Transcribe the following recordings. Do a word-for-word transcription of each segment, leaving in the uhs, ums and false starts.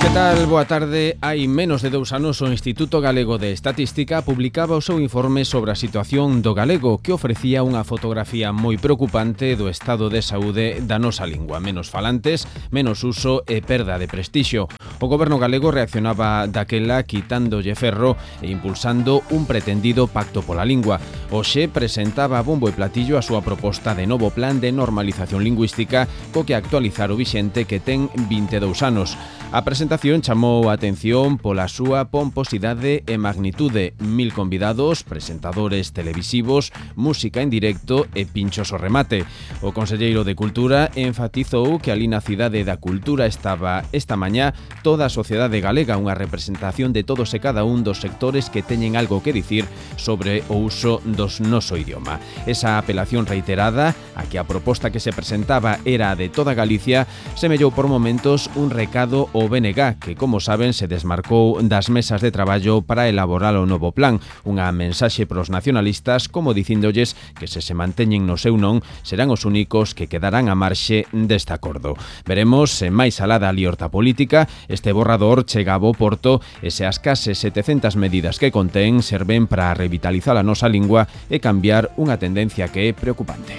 Que tal? Boa tarde. Hai menos de dous anos o Instituto Galego de Estatística publicaba o seu informe sobre a situación do galego, que ofrecía unha fotografía moi preocupante do estado de saúde da nosa lingua. Menos falantes, menos uso e perda de prestixio. O goberno galego reaccionaba daquela quitándolle ferro e impulsando un pretendido pacto pola lingua. Hoxe presentaba a bombo e platillo a súa proposta de novo plan de normalización lingüística co que actualizar o vixente que ten vinte e dous anos. A presentación chamou a atención pola súa pomposidade e magnitude. Mil convidados, presentadores televisivos, música en directo e pinchos ao remate. O conselleiro de Cultura enfatizou que ali na Cidade da Cultura estaba esta mañá toda a sociedade galega, unha representación de todos e cada un dos sectores que teñen algo que dicir sobre o uso dos noso idioma. Esa apelación reiterada a que a proposta que se presentaba era a de toda Galicia semellou por momentos un recado ao B N G, que, como saben, se desmarcou das mesas de traballo para elaborar o novo plan. Unha mensaxe pros nacionalistas, como dicíndolles que se se manteñen no seu non, serán os únicos que quedarán a marxe deste acordo. Veremos se máis alá da liorta política este borrador chega a bo porto e se as case setecentas medidas que contén serven para revitalizar a nosa lingua e cambiar unha tendencia que é preocupante.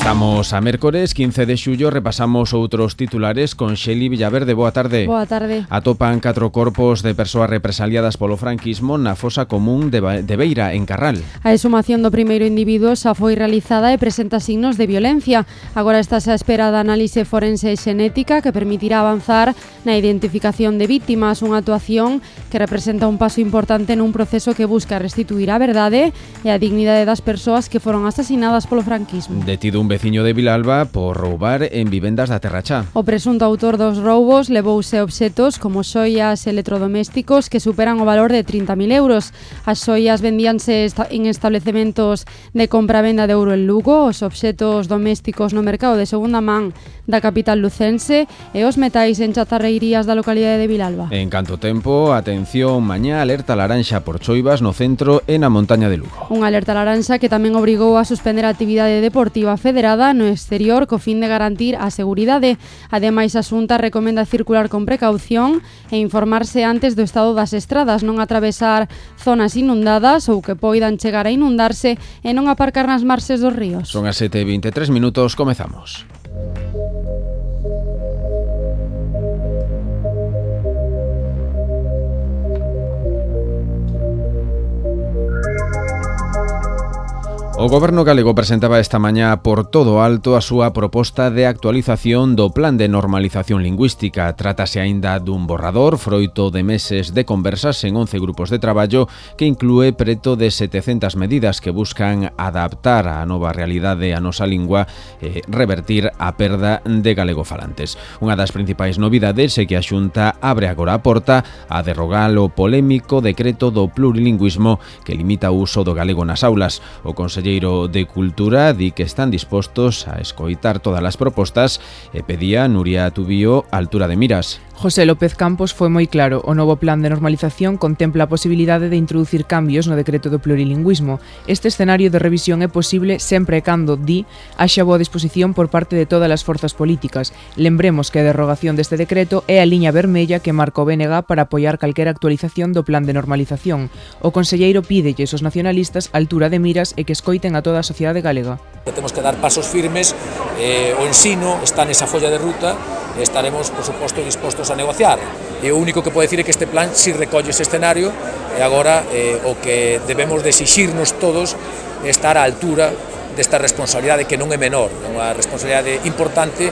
Estamos a mércores quince de xullo, repasamos outros titulares con Xeli Villaverde. Boa tarde. Boa tarde. Atopan catro corpos de persoas represaliadas polo franquismo na fosa común de, de Beira, en Carral. A exhumación do primeiro individuo xa foi realizada e presenta signos de violencia. Agora está a espera da análise forense e xenética que permitirá avanzar na identificación de vítimas, unha actuación que representa un paso importante nun proceso que busca restituir a verdade e a dignidade das persoas que foron asasinadas polo franquismo. Detido un veciño de Vilalba por roubar en vivendas da Terrachá. O presunto autor dos roubos levouse obxetos como xoias e electrodomésticos que superan o valor de trinta mil euros. As xoias vendíanse en establecementos de compra-venda de euro en Lugo, os obxetos domésticos no mercado de segunda man da capital lucense e os metais en chatarreirías da localidade de Vilalba. En canto tempo, atención, mañá alerta laranxa por choivas no centro e na montaña de Lugo. Unha alerta laranxa que tamén obrigou a suspender a actividade deportiva federada no exterior co fin de garantir a seguridade. Ademais, a Xunta recomenda circular con precaución e informarse antes do estado das estradas, non atravesar zonas inundadas ou que poidan chegar a inundarse e non aparcar nas marxes dos ríos. Son as sete e vinte e tres minutos, comezamos. O goberno galego presentaba esta mañá por todo alto a súa proposta de actualización do Plan de Normalización Lingüística. Trátase aínda dun borrador froito de meses de conversas en once grupos de traballo que inclúe preto de setecentas medidas que buscan adaptar a nova realidade a nosa lingua e revertir a perda de galegofalantes. Unha das principais novidades é que a Xunta abre agora a porta a derrogar o polémico decreto do plurilingüismo que limita o uso do galego nas aulas. O Conselleiro de Cultura di que están dispostos a escoitar todas as propostas e pedía Nuria Tubío altura de miras. José López Campos foi moi claro, o novo plan de normalización contempla a posibilidade de introducir cambios no decreto do plurilingüismo. Este escenario de revisión é posible sempre e cando, di, haxa boa disposición por parte de todas as forzas políticas. Lembremos que a derrogación deste decreto é a liña vermella que marca o B N G para apoiar calquera actualización do plan de normalización. O conselleiro pídelles aos nacionalistas altura de miras e que escoiten a toda a sociedade galega. Temos que dar pasos firmes, eh, o ensino está nesa folla de ruta e estaremos, por suposto, dispostos a negociar. E o único que pode decir é que este plan si recolle ese escenario e agora eh, o que debemos de exixirnos todos é estar á altura desta responsabilidade que non é menor, é unha responsabilidade importante.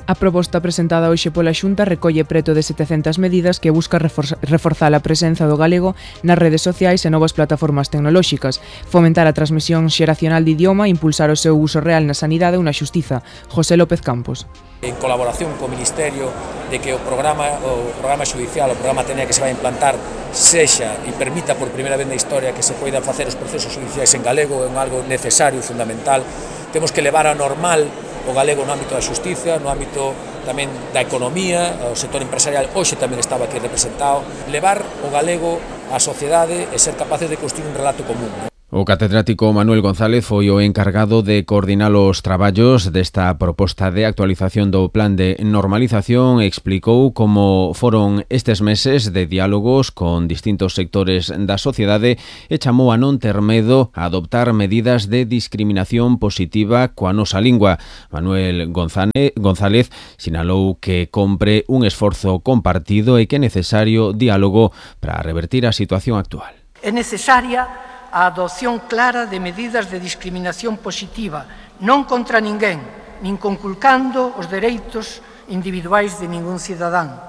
A proposta presentada hoxe pola Xunta recolle preto de setecentas medidas que busca reforzar a presenza do galego nas redes sociais e novas plataformas tecnolóxicas, fomentar a transmisión xeracional de idioma e impulsar o seu uso real na sanidade ou na xustiza. José López Campos. En colaboración co Ministerio de que o programa o programa xudicial, o programa Tenea que se vai implantar sexa e permita por primeira vez na historia que se poidan facer os procesos xudiciais en galego, é algo necesario e fundamental. Temos que levar a normal o galego no ámbito da xustiza, no ámbito tamén da economía, o sector empresarial hoxe tamén estaba aquí representado, levar o galego á sociedade e ser capaces de construir un relato común. O catedrático Manuel González foi o encargado de coordinar os traballos desta proposta de actualización do plan de normalización e explicou como foron estes meses de diálogos con distintos sectores da sociedade e chamou a non ter medo a adoptar medidas de discriminación positiva coa nosa lingua. Manuel González sinalou que compre un esforzo compartido e que é necesario diálogo para revertir a situación actual. É necesaria a adopción clara de medidas de discriminación positiva, non contra ninguén, nin conculcando os dereitos individuais de ningún cidadán,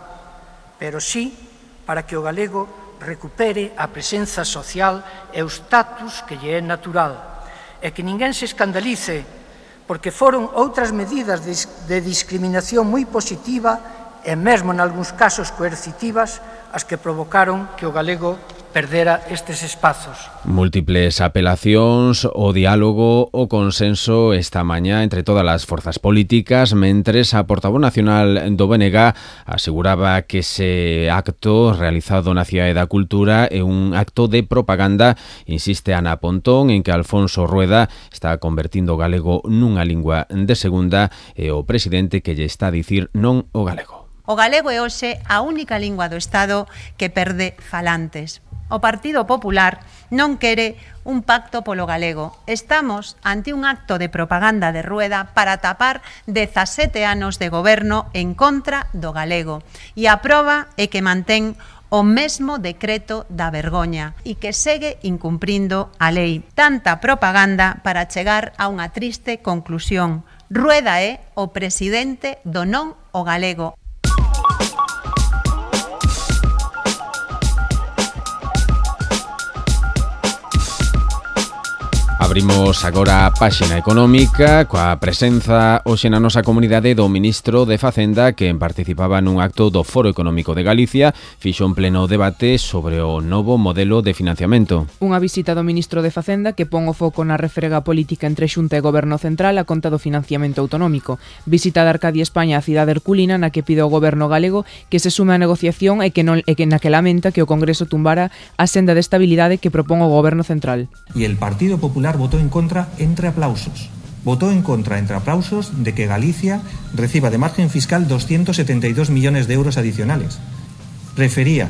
pero sí para que o galego recupere a presenza social e o status que lle é natural, e que ninguén se escandalice porque foron outras medidas de discriminación moi positiva e mesmo en algúns casos coercitivas as que provocaron que o galego perdera estes espazos. Múltiples apelacións, o diálogo, o consenso esta mañá entre todas as forzas políticas, mentres a portavoz nacional do B N G aseguraba que ese acto realizado na Cidade da Cultura é un acto de propaganda. Insiste Ana Pontón en que Alfonso Rueda está convertindo o galego nunha lingua de segunda e o presidente que lle está a dicir non o galego. O galego é hoxe a única lingua do Estado que perde falantes. O Partido Popular non quere un pacto polo galego. Estamos ante un acto de propaganda de Rueda para tapar dezasete anos de goberno en contra do galego. E a proba é que mantén o mesmo decreto da vergoña e que segue incumprindo a lei. Tanta propaganda para chegar a unha triste conclusión. Rueda é o presidente do non o galego. Abrimos agora a páxina económica coa presenza hoxe na nosa comunidade do ministro de Facenda, que participaba nun acto do Foro Económico de Galicia, fixo un pleno debate sobre o novo modelo de financiamento. Unha visita do ministro de Facenda que pon o foco na refrega política entre Xunta e Goberno Central a conta do financiamento autonómico. Visita de Arcadia España a cidade herculina na que pide ao Goberno galego que se sume á negociación e que non e que na que lamenta que o Congreso tumbara a senda de estabilidade que propón o Goberno Central. E el Partido Popular votó en contra entre aplausos. Votó en contra entre aplausos de que Galicia reciba de margen fiscal doscientos setenta y dos millones de euros adicionales. Prefería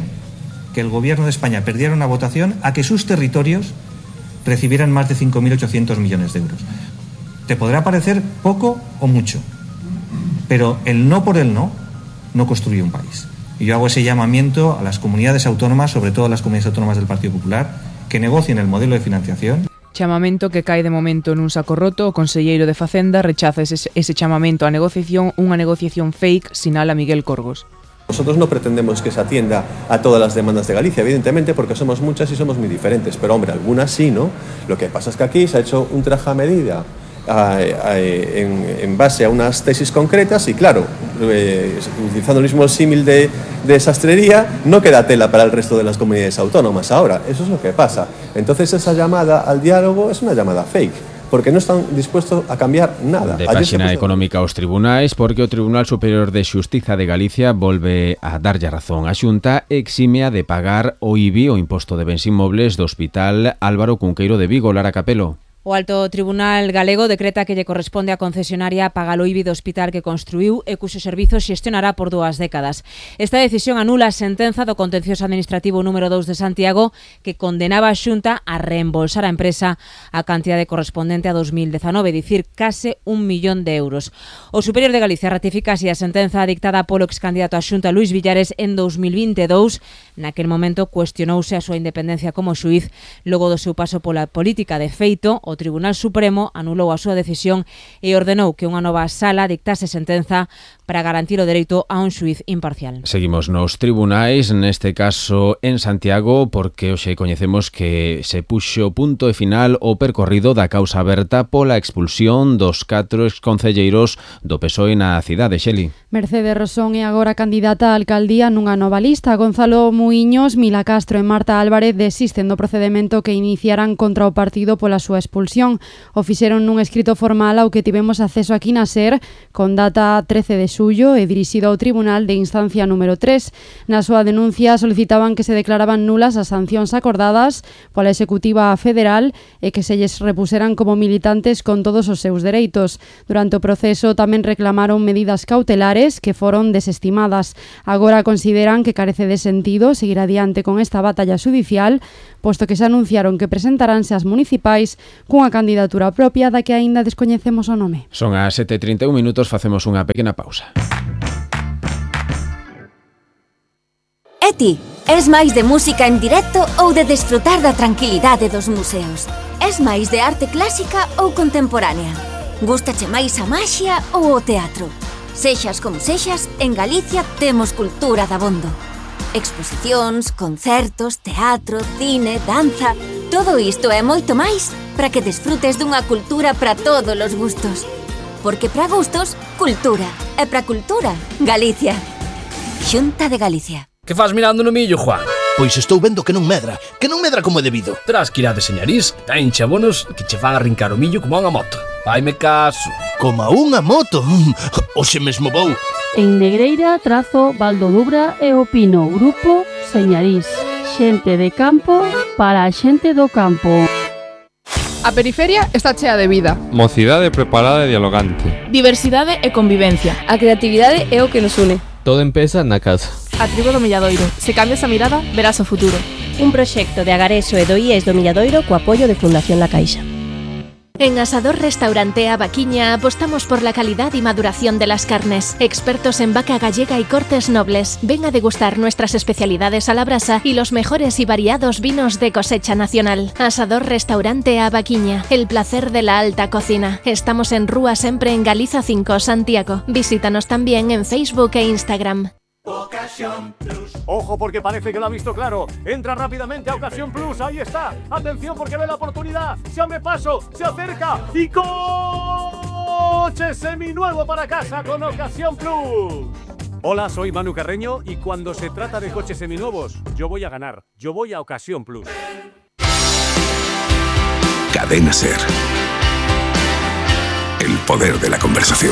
que el Gobierno de España perdiera una votación a que sus territorios recibieran más de cinco mil ochocientos millones de euros. Te podrá parecer poco o mucho, pero el no por el no no construye un país. Y yo hago ese llamamiento a las comunidades autónomas, sobre todo a las comunidades autónomas del Partido Popular, que negocien el modelo de financiación. Chamamento que cae de momento nun saco roto. O conselleiro de Facenda rechaza ese, ese chamamento a negociación, unha negociación fake, sinala Miguel Corgos. Nosotros no pretendemos que se atienda a todas las demandas de Galicia, evidentemente, porque somos muchas y somos muy diferentes, pero hombre, algunas sí, ¿no? Lo que pasa es que aquí se ha hecho un traje a medida a, a, en, en base a unas tesis concretas y claro, eh, utilizando el mismo símil de, de sastrería, no queda tela para el resto de las comunidades autónomas ahora, eso es lo que pasa. Entonces esa llamada al diálogo es una llamada fake, porque non están dispuestos a cambiar nada. De páxina económica aos tribunais, porque o Tribunal Superior de Xustiza de Galicia volve a darlle razón a Xunta eximea de pagar o I B I, o Imposto de Bens Inmobles, do Hospital Álvaro Cunqueiro de Vigo. Lara Capelo. O Alto Tribunal Galego decreta que lle corresponde á concesionaria pagar o I B I do hospital que construiu e cuxo servizo xestionará por dúas décadas. Esta decisión anula a sentenza do Contencioso Administrativo número dous de Santiago que condenaba a Xunta a reembolsar a empresa a cantidade correspondente a dos mil dezanove, dicir, case un millón de euros. O Superior de Galicia ratifica así a sentenza dictada polo excandidato a Xunta Luís Villares en dos mil vinte e dous. Naquel momento cuestionouse a súa independencia como xuíz logo do seu paso pola política. De feito, o Tribunal Supremo anulou a súa decisión e ordenou que unha nova sala dictase sentenza para garantir o dereito a un xuíz imparcial. Seguimos nos tribunais, neste caso en Santiago, porque hoxe coñecemos que se puxo punto e final o percorrido da causa aberta pola expulsión dos catro exconcelleiros do P S O E na cidade, Xeli. Mercedes Rosón é agora candidata á alcaldía nunha nova lista. Gonzalo Muiños, Mila Castro e Marta Álvarez desisten do procedemento que iniciaran contra o partido pola súa expulsión. expulsión. O fixeron nun escrito formal ao que tivemos acceso aquí na SER con data trece de xullo e dirixido ao Tribunal de Instancia número tres. Na súa denuncia solicitaban que se declaraban nulas as sancións acordadas pola Executiva Federal e que se lles repuseran como militantes con todos os seus dereitos. Durante o proceso tamén reclamaron medidas cautelares que foron desestimadas. Agora consideran que carece de sentido seguir adiante con esta batalla judicial, posto que se anunciaron que presentaránse as municipais cunha candidatura propia da que aínda descoñecemos o nome. Son as sete e trinta e un minutos, facemos unha pequena pausa. E ti, es máis de música en directo ou de desfrutar da tranquilidade dos museos? Es máis de arte clásica ou contemporánea? Gústache máis a maxia ou o teatro? Sexas como sexas, en Galicia temos cultura dabondo. Exposicións, concertos, teatro, cine, danza... Todo isto e moito máis para que desfrutes dunha cultura para todos os gustos. Porque para gustos, cultura. E para cultura, Galicia. Xunta de Galicia. Que faz mirando no millo, Juan? Pois estou vendo que non medra, que non medra como é debido. Terás que ir a Deseñarís, tenche abonos que che van a rincar o millo como a unha moto. Vaime caso. Como a unha moto? Oxe mesmo vou. En Negreira, Trazo, Valdodubra e o Pino, Grupo Señarís. Xente de campo para a xente do campo. A periferia está chea de vida. Mocidade preparada e dialogante. Diversidade e convivencia. A creatividade é o que nos une. Todo empeza na casa. A tribo do Milladoiro. Se cambias a mirada, verás o futuro. Un proxecto de Agareso e do I E S do Milladoiro co apoio de Fundación La Caixa. En Asador Restaurante A Vaquiña apostamos por la calidad y maduración de las carnes. Expertos en vaca gallega y cortes nobles. Ven a degustar nuestras especialidades a la brasa y los mejores y variados vinos de cosecha nacional. Asador Restaurante A Vaquiña, el placer de la alta cocina. Estamos en Rúa Sempre en Galiza cinco, Santiago. Visítanos también en Facebook e Instagram. Ocasión Plus. Ojo porque parece que lo ha visto claro. Entra rápidamente a Ocasión Plus. Ahí está. Atención porque ve la oportunidad. Se abre paso, se acerca y coche seminuevo para casa con Ocasión Plus. Hola, soy Manu Carreño y cuando se trata de coches seminuevos, yo voy a ganar. Yo voy a Ocasión Plus. Cadena SER. El poder de la conversación.